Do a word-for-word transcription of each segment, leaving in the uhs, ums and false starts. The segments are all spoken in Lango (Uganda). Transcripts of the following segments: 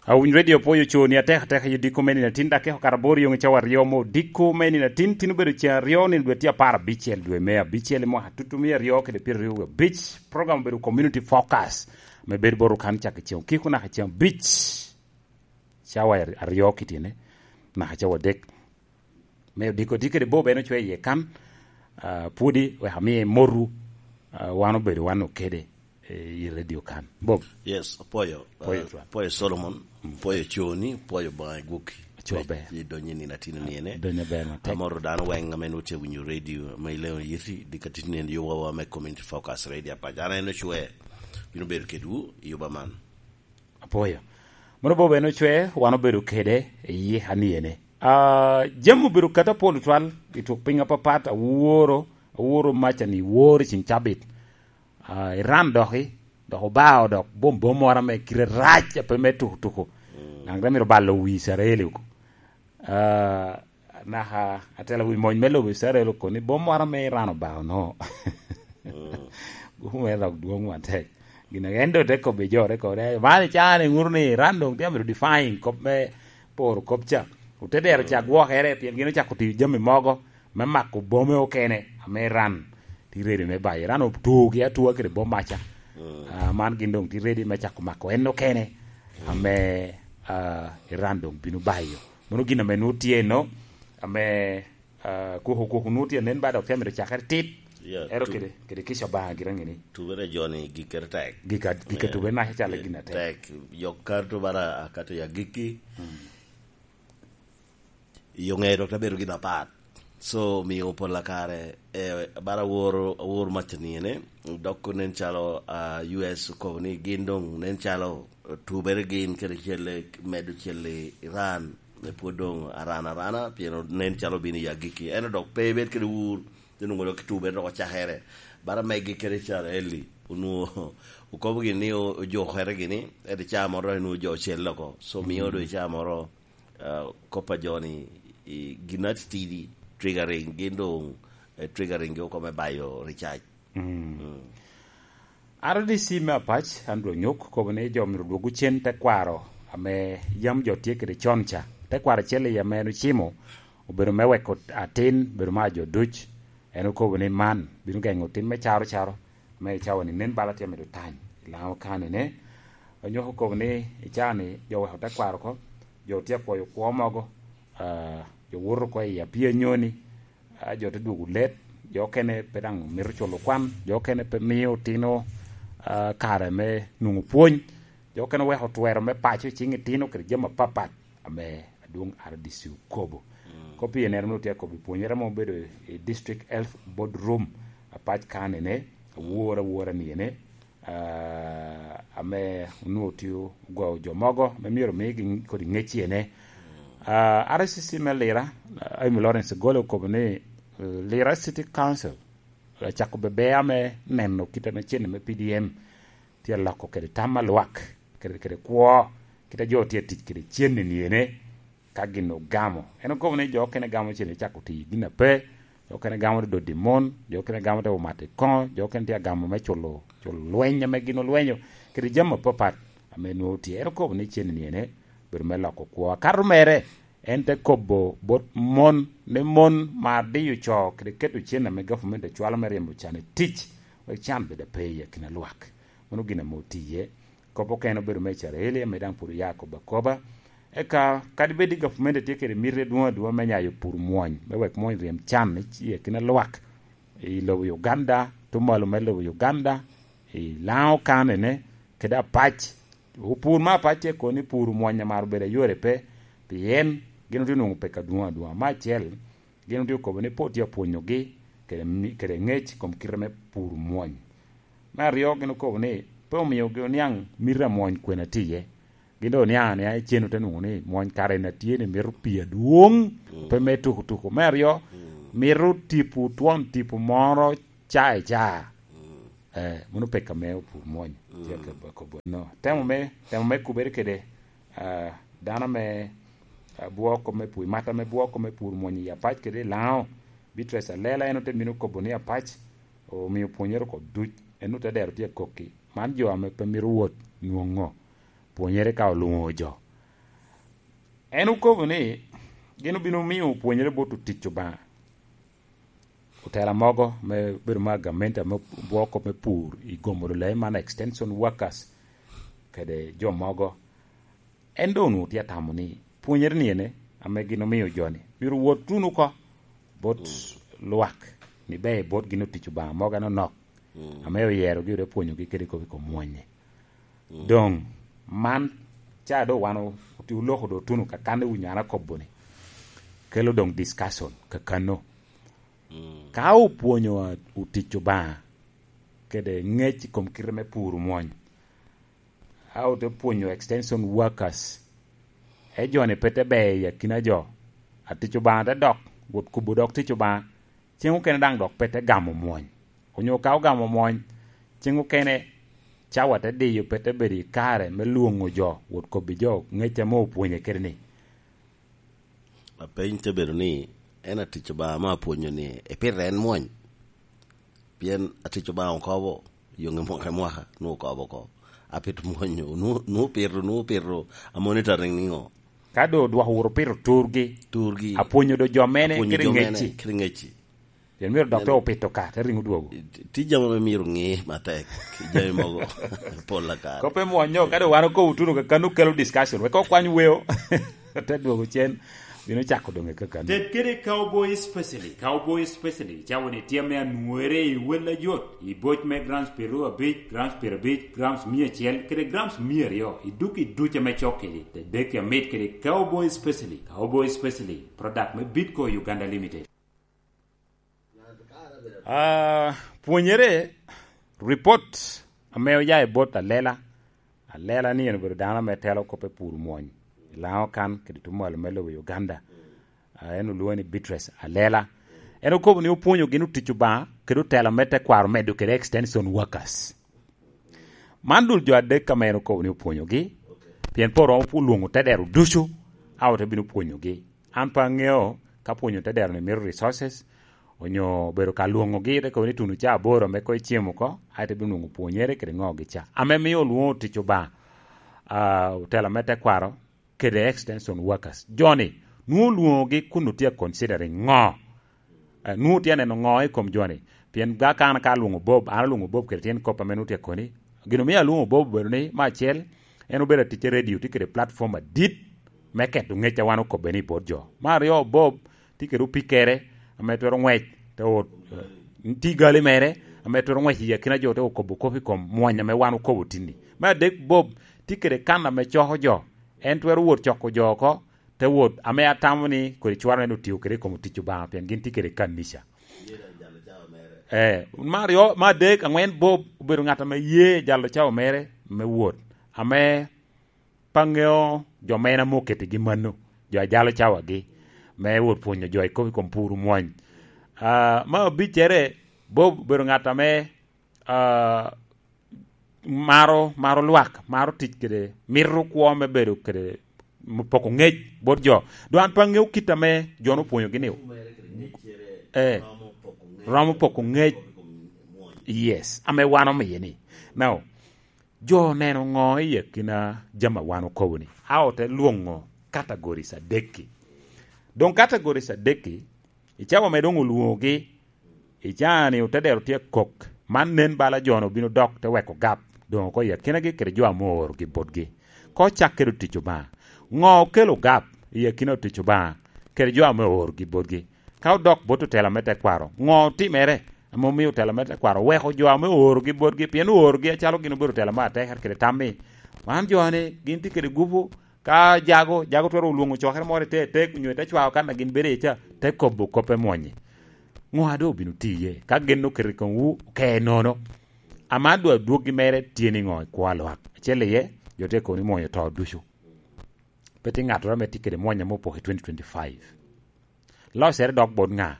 Awiny Radio Poyo Coni atek atek i odiko me nino atin, dakika okato aboro yoŋ i cawa aryo me odiko me nino atin. Tin obedo ceŋ aryo, nino dwe tye apar abicel, dwe me abicel, i mwaka tutumia aryo kede pyeraryo abic. Program obedo Community Focus, me bedo bot kan cak i ceŋ okiko naka i ceŋ abic, cawa aryo kitine, naka cawa adek. Me odiko tye kede Bob, en ocwe iye kan, ah, pwodi wek amie motu, ah, wan obedo wan okede, eh, i radio kan. Bob. Yes, apwoyo, Apwoyo ah, twal. Apwoyo Solomon, apwoyo Coni, apwoyo Obaŋa i gwokki. Acwa ber. I donyo i nino atin-ni ene. Donyo ber matek. Amoro dano weŋ ame nwoŋo tye winyo radio, ame i leŋo yiti, dika titni en yowawa me Community Focus Radio apac. An en ocwe, bino bedo kedwu i yoba man. Apwoyo. Mono Bob en ocwe, wan obedo kede i yika ni ene. Ah, jami obedo kata pol twal i tuk piny apapat, aworo, aworo maca ni woro i ceng cabit. Ah, Iran doki, dok obao dok bom bom moro ame kite rac, ape me tuko tuko. Mm. Naŋ te mito balo wi Icrael oko. Ah, naka atela wi mony me lobo Icrael oko ni bom moro ame Iran obao no. Mm. Bom me dok dwoŋ matek. Gin ake en doŋ te kobbe jo, te kobbe, "Man i caa ni ŋuto ni Iran doŋ tye amito defying kop me poro kop ca. Ote dero ca gwokere, pien gin ocako tiyo jami mogo me mako bome okene ame Iran tye ready me bayo. Iran otuogi atua kede bom maca." Mm. Ah, man gin doŋ tye ready me cako mako en okene, mm, ame, ah, Iran doŋ bino bayo. Mano gin ame nwoŋo tye no, ame, ah, kuku, kuku nwoŋo tye nen ba dok tye amito cakere tit. Yeah, ero tu-, kede, kede kica Obaŋa gira ŋini. Tubere joni gikkere tek. Gika, gika, yeah, tubere naka calo, yeah, gin atek. Tek. Yok kar tubara akato ya gikki. Mm. Yo ŋeye dok te bedo gin apat. So, omio pol a kare, eh, bara aworo, aworo mac aniyene, dok nen calo, ah, U S okobo ni gin doŋ nen calo, eh, tubere gin kede celle, medo celle Iran, me pwod doŋ aran arana, pien nen calo obino i agikki. Ento dok pe ebed kede wur, te nwoŋo dok tubere dok ocakere. Bara megi kede Icrael-li, onwoŋo okobo gini ni o-, ojukere gini, ento i caa moro dok onwoŋo jo ocelle oko. So, mio, mm, doŋ i caa moro, ah, kop a jo-ni, i, gin atitidi, triggering, gin doŋ, eh, triggering gi oko me bayo recharge. Mm. Mm. R D C me Apac, Andrew Onyok, okobo ni jo myero odwog cen tekwaro ame yam jo tye kede con ca. Tekwaro acel i ame en ocimo, obedo me weko atin, bedo mar jo duc. En okobo ni man bino geŋo tim me caro caro, me i cawa-ni nen bala tye amito tany i Laŋo County-ne. Onyok okobo ni i cawa-ni jo weko tekwaro oko, jo tye apwoyo kwo mogo, ah, jo woto oko i apii anyoni, ah, jo te dwogo let, jo okene pe daŋ mito culo kwan, jo okene pe mio otino, ah, kare me nwoŋo pwony, jo okene oweko twero me paco i ciŋ itino kede jami apapat ame adwoŋ R D C okobo. Mm. Kop i enero nwoŋo tye akobo i pwonyere ame obedo i District Health Board Room, Apac County-ne, awor awora ni ene, ah, ame onwoŋo tye ogoyo jo mogo ame myero omigi kodi ŋec i ene. Ah, R C C me Lira, ah, Amy Lawrence Gole okobo ni, eh, Lira City Council acako bebe ame neno kit ame cen me P D M tye aloko kede tam a lwak, kede, kede kwo, kit a jo tye tic kede cen-ni ene. Ka gin ogamo. En okobo ni jo okene gamo cen me cako tiyo gin ape, jo okene gamo te dodi mon, jo okene gamo te omato i koŋo, jo okene tye agamo me culo, culo lweny ame gin olwenyo, kede jami apapat ame nwoŋo tye. En okobo ni cen-ni ene bedo me loko kwo. Akato mere, en te kobo bot mon, ni mon mar diyo co kede keto cen ame gavumenti ocwalo me ryemo can i tic, wek can bed ape i akina lwak. Mano gin ame otiye. Kop okene obedo me Icrael, ame daŋ pwod oya akobo akoba. Eka, kadi bed ni gavumenti tye kede miti adwoŋ adwoŋ me nyayo pur mwony, me wek mwony ryem can i, i akina lwak, i lobo Uganda, tuŋ malo me lobo Uganda, i Laŋo County-ne, kede Apac. Opur me Apac tye kono ni pur mwony amaro bedo ayore pe, pien gin otye nwoŋo peko adwoŋ adwoŋ. Me acel, gin otye okobo ni pe otye apwonyogi kede mi-, kede ŋec i kom kite me pur mwony. Me aryo, gin okobo ni pe omiogi oniaŋ miti a mwony kwene tye iye. Gin doŋ oniaŋ aniaŋa i cen, ote nwoŋo ni mwony kare en atye ni mito pii adwoŋ, mm, pe me tuko tuko. Me aryo, mm, mito tipo twon tipo moro ca i ca. Mm. Eh, mano peko ame opur mwony. Mm. Tye ka kobo no. Temo me, temo me kubere kede, ah, dano ame, ah, bwoko me pur, mata me bwoko me pur mwony i Apac kede i Laŋo, Beatrice Alela, en ote mino kobo ni Apac omio pwonyere oko duc, en ote dero tye akokki. Man jo ame pe mito wot nwoŋo pwonyere ka olwoŋo jo. En okobo ni gin obino miyo opwonyere bot otic Obaŋa, otela mogo me bedo ma gamente ame bwoko me pur i gomo lulai man, extension workers kede jo mogo. En doŋ onwoŋo tye atamo ni pwonyere ni ene ame gin omio jo-ni myero wot tuno oko bot lwak, ni ber bot gin otic Obaŋa mogo anonok ame oyerogi, ode pwonyogi kede kop i kom mwonye. Doŋ man ca doŋ wan o-, oti-, oloko doŋ otuno kakan i winyo an akobo-ni, kelo doŋ discussion kakanno. Ka opwonyo a-, otic Obaŋa kede ŋec i kom kite me puro mwony, a ote pwonyo extension workers, e jo-ni pe te ber i akina jo, atic Obaŋa te dok, wot kubo dok tic Obaŋa, ceŋ okene daŋ dok pe te gamo mwony. Onyo ka ogamo mwony, ceŋ okene cawa te diyo, pe te bedo i kare me lwoŋo jo, wot kobbi jo ŋec ame opwonye kede-ni. Apeny te bedo ni, en atic Obaŋa ame apwonyo ni epito en mwony? Pien atic Obaŋa okobo, yoŋe mwaka i mwaka, nwoŋo okobo oko. Apito mwonyo, nwoŋo, nwoŋo pito, nwoŋo pito, a monitoring niŋo? Ka doŋ odwoko wuro pito turgi, Turgi. Apwonyo doŋ jo mene Apwonyo kede jo mene ŋecci. Kede ŋecci. Pien myero dok te opito ka, te riŋo dwogo. Tye jami ame myero ŋe matek, jami mogo pol akare. Koppe mwonyo, ka doŋ wan okobo tuno ka, kan okelo discussion, wek okwany weo, te dwogo cen, bino cako doŋ i kakano. Ted kede Cowboy Specially. Cowboy Specially, cawa ni tye ame anwore i wel ajot, i boc me grams piero abic, grams piero abic, grams mia acel, kede grams mia aryo, i duk i duc ame cok kedi. Ted dek amit kede Cowboy Specially. Cowboy Specially, product me Bitco Uganda Limited. Ah, pwonyere, report ame oya i bot Alela. Alela ni en obedo dano ame telo kop i pur mwony i Laŋo kan kede tuŋ malo me lobo Uganda. Ah, en olwoŋe ni Beatrice Alela. En okobo ni opwonyo gin otic Obaŋa kede otela me tekwaro medo kede extension workers. Man dul jo adek ame en okobo ni opwonyogi, pien pe oromo olwoŋo te dero ducu, a ote bino pwonyogi. An pe aŋeo ka pwonyo te dero-ni mito resources, onyo bedo ka lwoŋogi, te kobo ni tuno ca aboro ame koŋ icem oko, a ite bino nwoŋo pwonyere kede ŋogi ca. Ame mio olwoŋo tic Obaŋa, ah, otela me tekwaro, kede extension workers. Jo-ni, nwoŋo olwoŋogi kun otye a considering ŋo? Eh, nwoŋo otye aneno ŋo i kom jo-ni? Pien ga ka an ka alwoŋo Bob, an alwoŋo Bob kede tyen kop ame nwoŋo tye akoni. Gin omio alwoŋo Bob obedo ni, me acel, en obedo atic i radio, tye kede platform adit me keto ŋec a wan okobbe ni i bot jo. Me aryo, Bob tye kede opikkere ame twero ŋwec te ot, eh, tye gali mere ame twero ŋwec i akina jo te okobo kop i kom mwony ame wan okobo tinni. Me adek, Bob tye kede kan ame coko jo, en twero wot coko jo oko, te wot, ame atamo ni kodi cwaro en otio kede i kom otic Obaŋa, pien gin tye kede kanica. Eh, me aryo, me adek, aŋwen, Bob obedo ŋat ame ye jalo cawa mere me wot, ame pe aŋeo jo mene ame okettigi mano, jo a jalo cawagi, me wot pwonyo jo i kop i kom pur mwony. Ah, me abiccere, Bob obedo ŋat ame, ah, maro, maro lwak, maro tic kede, mito kwo me bedo kede, me poko ŋec bot jo. Doŋ an pe aŋeo kit ame jo-nu opwonyogi ni, eh, romo poko ŋec. Yes, ame wan omiye ni. Now, jo oneno ŋo i akina jami a wan okobo ni? A ote lwoŋo categories adek-ki. Doŋ categories adek-ki, i cawa ame doŋ olwoŋogi, i caa-ni otedero tye akok. Man nen bala jo-nu obino dok te weko gap, doŋ oko i akinagi kede jo ame oorogi botgi. Ka ocak kede otic Obaŋa, ŋo okelo gap i akina otic Obaŋa kede jo ame oorogi botgi? Ka odok bot otela me tekwaro, ŋo otimere ame omio otela me tekwaro oweko jo ame oorogi botgi, pien oorogi acalo gin obedo otela me atekere kede tam ni, man jo-ni gin tye kede gupu, ka jago, jago twero olwoŋo cokere moro i te tek, onyo i te cwao kan a gin bedo iye ca, te kobo kop me mwonye. Ŋo a doŋ obino tiye? Ka gin oketo i komwu, oke nono. Ama dwa dwoggi mere tye niŋo i kwo a lwak? Acel iye, jo tye kobo ni mwonyo to ducu. Pe tye ŋattoro ame tye kede mwony ame opoko i twenty twenty-five. Locere dok bot ŋa?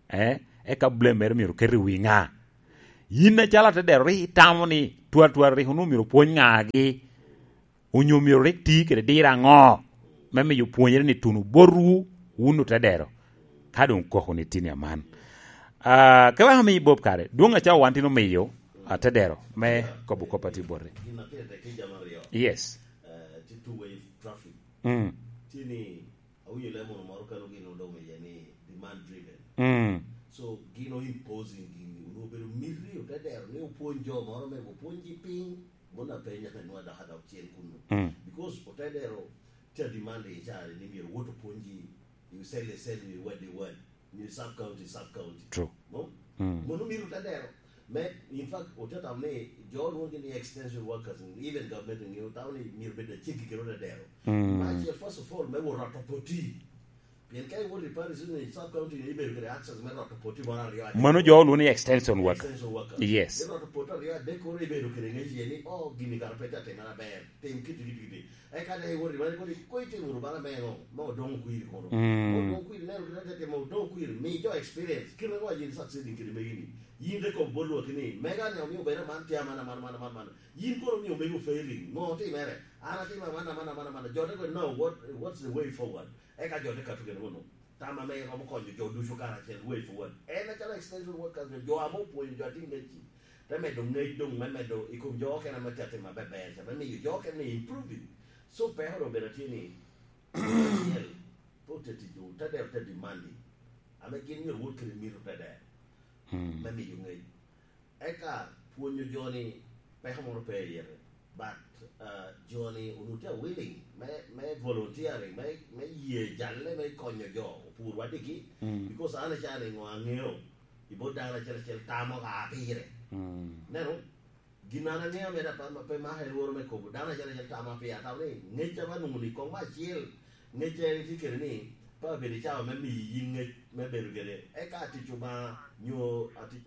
Eh, eka blame mere myero oket i wi ŋa? Yin acalo atedero rik itamo ni twatwal rik onwoŋo myero opwony ŋagi? Onyo myero rik ti kede diro aŋo me miyo pwonyere ni tuno botwu wun otedero, ka doŋ koko ni tini aman? Ah, ke wek ami Bob kare, dwoŋ acawa wan tin omiyo atedero me kobo kop a tye bote. Yes. Mm. Ni, awinyo lemo moro kano gin odong iye ni demand driven. Mm. So, gin o imposing gini, onwoŋo obedo miti, ote dero ni opwony jo moro me opwony ji piny, mon apenya me nwa dok adok cen kunu. Mm. Because ote dero tye demand i cari ni myero wot opwony ji, you sell, sell, you word, you word. Ni sub county, sub county. True. No? Mm. Mono myero ote dero. Me, in fact, ote tamo ni jo lwongi ni extension workers, even government ni otamo ni myero bed aceggi kede ote dero. Mm. Ma acel, first of all, me wot roto poti. Pien ka iwoto i parish ni sub county ni ibedo kede access me roto poti moro aryo adek. Mano jo lwongo ni extension worker. Extension worker. Yes. Iroto poti aryo adek koro ibedo kede ngec iye ni, "Oh, gini kara pe te atimere aber. Tim kiti, kiti, kiti." Eka te iwot i bale kodi, "Koŋ itim wunu bala me ŋo? Me odoŋ okwiri kono." Mm. Odoŋ okwiri, neno kite te timo odoŋ okwiri, mi jo experience. Kite ŋo a yin succeeding kede megi ni? Yin te kop bot lwak ni, "Mega ni omio bedo man tye aman, aman, aman, aman, aman." Yin kono omio mego failing. Ŋo otimere? An atimo aman, aman, aman, aman. Jo te kono, "No, what, what's the way forward?" Eka jo te kato kede kono. Tam ame romo konyo jo ducu karacel, way forward. En acalo extension workers, jo ame opwonyo jo atin ŋecci. Te medo ŋec doŋ, me medo i kom jo okene ame tye atim maber ber ca, me miyo jo okene improving. So, peko doŋ obedo tye ni, acel, pe ote tic, te dero te demanding. Ame gin myero wot kede mito te dero. Mm. Me miyo ŋec. Eka pwonyo jo ni peko moro pe i yete. But, uh, jo ni onwoŋo tye willing me, me volunteering, me, me ye jalle me konyo jo, opur wadigi. Mm. Because an aca ni ŋo aŋeo, i bot dano acel acel tamo ka pire. Mm. Neno, gin an aŋeo me da pe, pe maka i lworo me kobo, dano acel acel tamo pire, atamo ni ŋec ame anwoŋo ni koŋ me acel, ŋec en tye kede ni, pe abedo i cawa me miyi yin ŋec me bedo kede, eka tic Obaŋa, nyo atic